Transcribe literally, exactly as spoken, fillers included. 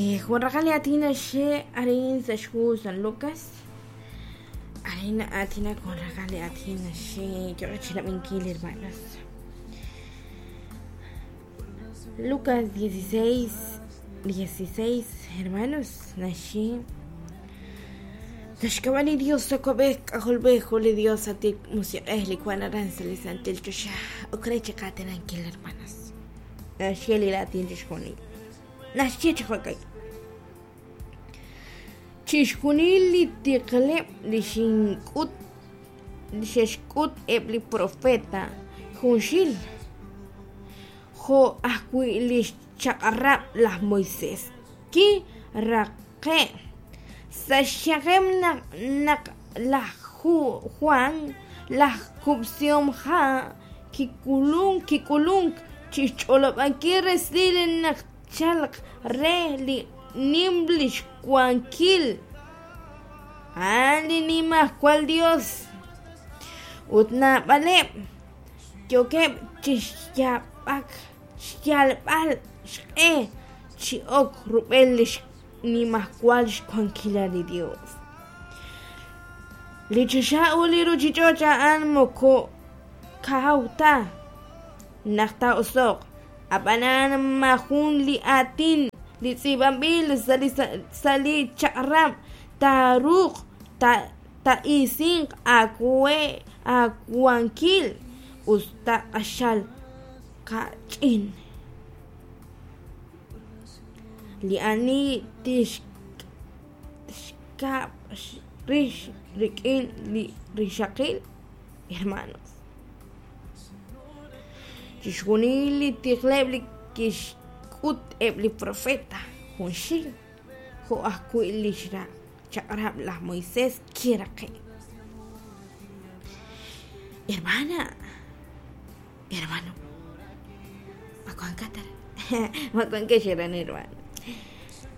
Jun raqal li aatin naxye arin sa' xhu San Lucas. Arin na'aatinak jun raqal li aatin naxye yooqeb' chirab'inkil, hermanos. Lucas dieciséis, dieciséis, hermanos, naxye: Sa' xk'ab'a' li Dios Yuwa'b'ej K'ajolb'ej ut li Dios Santil Musiq'ej li wan aran sa' li santil choxa, ok re chiqaatinankil, hermanos. Naxye li raatin chixjunil. Naxye chi jo'ka'in: Chixjunil li tiqleb' li xink'ut li xe'xk'ut eb' li profeta junxil, jo' ajwi' li xchaq'rab' laj Moisés, kiraqe' sa' xyanqeb' naq naq laj Juan laj Kub'sihom Ha' kik'ulunk kik'ulunk chi xch'olob'ankil resil naq chalk re li nim lix wankil, a'an li Nimajwal Yos, ut naab'aleb' yookeb' chi xyaab'ak xyalb'al xq'e chi ok rub'el li xnimajwal xwankilal li Yos. Li choxa ut li ruuchich'och' a'an moko kaw ta naq taa'oso'q, ab'anan maajun li aatin li tz'iib'anb'il sa' li sa' li chaq'rab' taaruuq taa'isinq aawe aawankil us ta q'axal kach'in. Li ani tixkab' rix rik'in li rixaqil, hermanos. Chixjunil li tiqleb' li kixk'ut eb' li profeta junxil, jo' ajwi' li xchaq'rab' laj Moisés kiraqe'. Hermana, hermano, ma wankat ma wankex aran, hermano.